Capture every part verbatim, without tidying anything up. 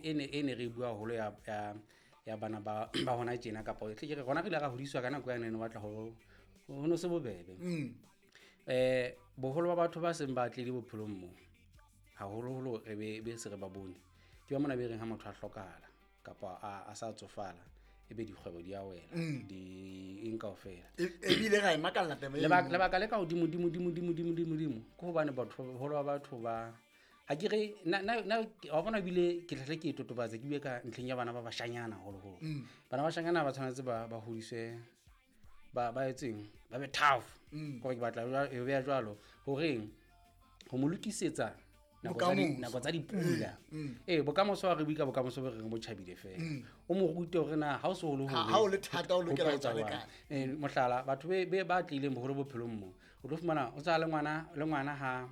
e ne e ne re bua haholo ya ya ya bana ba ba hona tjena, kapa tle ke re rona re ile ra hodiswa ka nako yane, ne batla ho ho no se bobebe. Mm. eh boholo ba batho ba seng ba tlile bophelong mo, haholoholo re be be se re ba bone, ke ba mona be reng ha motho a hlokahala kapa a a sa tsofala, ebe dikgwebo di a wela, di eng kaofela. E- ebile ra e makalla taba eno. Lebaka lebaka le ka hodimo dimo dimo dimo dimo dimo dimo ke hobane batho, boholo ba batho ba, ha ke re na na na wa bona, ebile ke tlhahle ke e totobatse, ke bue ka ntlheng ya bana ba bashanyana haholoholo. Bana ba bashanyana ba tshwanetse ba ba hodiswe, ba ba etseng, ba be tough. Kore ke batla jwa- e beha jwalo horeng ho mo lokisetsa nako tsa di- Bokamoso. Nako tsa dipula. Ee, bokamoso ha re bue ka bokamoso bo re reng bo tjhabile fela, o mo rute hore na ha o so o le Ha- hore ha o le thata, o lokela ho ho tlo etsa tswa jwang. lekala. Eh, mohlala, batho be be ba tlileng boholo bophelong mo, o tlo fumana o tsa le ngwana, le ngwana ha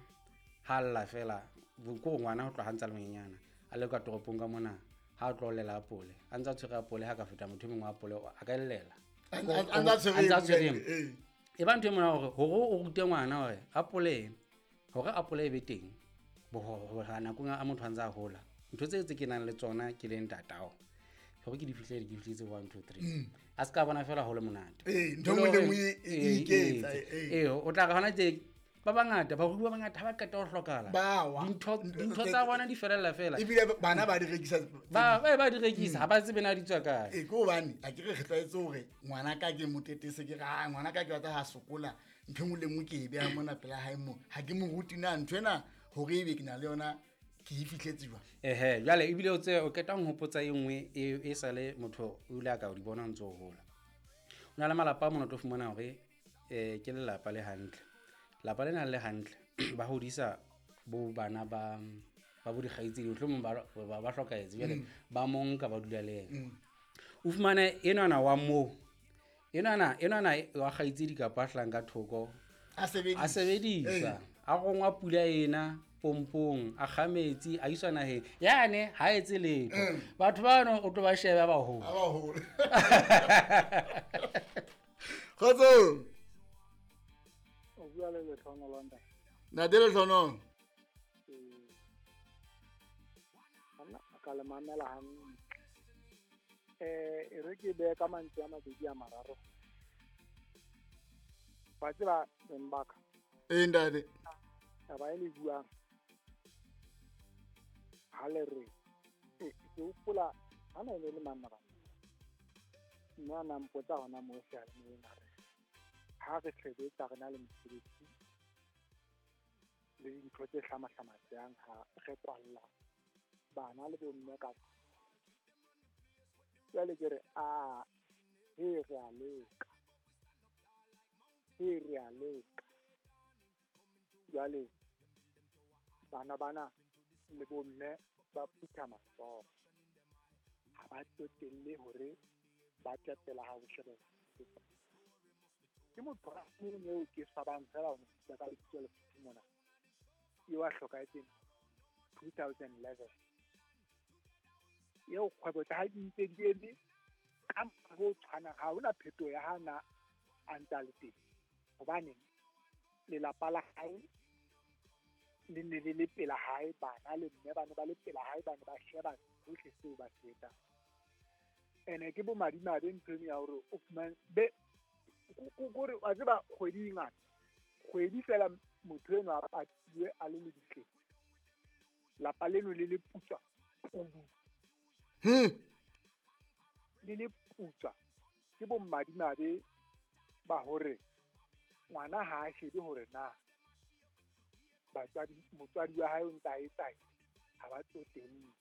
ha lla fela, bo- ko ngwana ho tloha ha ntse a le monyenyana, a le ka toropong ka mona, ha a tlo llela apole, a ntse a tshwere apole, ha ka feta motho e mongwe wa apole, a ka e llela. A- a- a ntse a tshwere A ntse a e tshwere nngwe, e ee. E ba ntho e mona hore hore o rute ngwana hore apole, hore apole e be teng boho- ho- nakong a motho a ntse a hola, ntho tse tse ke nang le tsona ke le ntatao, hore ke di fihlele, ke fihletse one, two, three, a se ka bona fela ho le monate. Ee, ntho e nngwe le nngwe e- e iketsa, ee. Ee, o tla re hona tje ba bangata, barui ba bangata ha ba qeta ho hlokahala, Ba wa. dintho dintho tsa bona di felella fela. Ebile bana ba di rekisa. Ba ba ba di rekisa, ha ba tsebe na di tswa kae. Ee, ke hobane a ke re re tlwaetse hore ngwana ka ke motetese, ke re "Ah, ngwana ka ke batla ha sokola, ntho e nngwe le nngwe ke e beha mona pela hae mo, ha ke mo rute na ntho ena hore ebe ke na le yona, ke e fihletse jwang." Ehe, jwale ebile o tse o qeta ho nhopotsa e nngwe e e sale motho o ile a ka o di bona o ntso o hola. O na le malapa a mona, o tlo fumana hore eh ke lelapa le hantle, lapa lena le hantle, ba hodisa bo bana ba ba bo dikgaitsedi, mohlomong ba ba ba hlokahetse, jwale ba mo nka, ba dula le yena. O fumane enwana wa moo, enwana enwana wa kgaitsedi kapa a hlahang ka thoko, a sebedisa, a sebedisa, a rongwa pula ena pompong, a kga metsi, a iswa naheng yane, ha etse letho. Batho bano o tlo ba shebe ba baholo. A baholo. Kgotsong. O bua le Lehlohonolo, ntate. Ntate Lehlohonolo. Ee. Banna, ka le mamela hantle. Eh, e re ke behe ka mantswe a mabedi a mararo. Wa tseba, beng ba ka. Ee, ntate. Taba e le buang, ha le re, eh, ke hopola ha na e ne le manna bana. Mme a na mpotsa hona moo seyalemoyeng, a re ha re sebetsa re na le mosebetsi le dintho tse hlamahlamatsehang, ha re kwalla bana le bomme ka. Jwale ke re, a he, re a leka, he, re a leka. Jwale bana bana le bomme ba phutha matsoho, ha ba tsotelle hore ba tepela ha ho shebe. Ke motho a mong eo ke swabang fela ho mo bitsa ka lebitso le mona, eo a hlokahetseng two thousand eleven, eo kgwebo tsa hae di ntse di eme ka mokgwa o tshwanang, ha hona phetoho ya ha na a ntse a le teng, hobane lelapa la hae le ne le le pela hae, bana le mme ba ne ba le pela hae, ba ne ba sheba sohle seo ba se etsang. Ene ke bomadimabe ntho eno ya hore o fumane be kore wa tseba kgwedi e ngata, kgwedi fela motho eno a patiwe a le lebitleng, lapa leno le le putswa kudu, Hmm. le le putswa. Ke bomadimabe ba hore ngwana ha a shebe hore na batswadi, motswadi wa hae o ntse a etsang, ha ba tsotelle.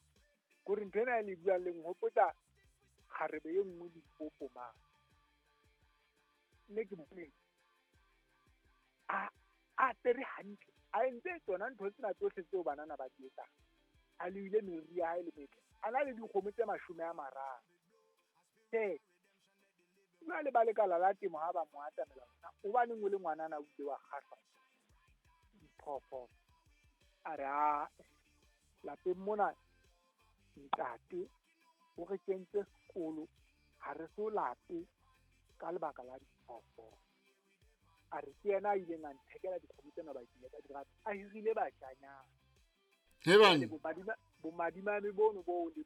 Kore ntho ena e le buang le nhopotsa kgarebe e nngwe Limpopo mane, mme ke bone a a apere hantle, a entse tsona ntho tsena tsohle tseo banana ba di etsang, a loile meriri ya hae le metle, a na le dikgomo tse mashome a mararo. Tjhe, jwale ba lekala la temo ha ba mo atamela, hobaneng o le ngwanana o ile wa kgahlwa diphoofolo? A re, "Aa, lapeng mona ntate o re kentse sekolo, ha re so lape ka lebaka la diphoofolo." A re ke yena a ileng a nthekela dikgomo tsena, ba ke ka di rata, a hirile batjanyana. He bana. Bomadimabe bono bo le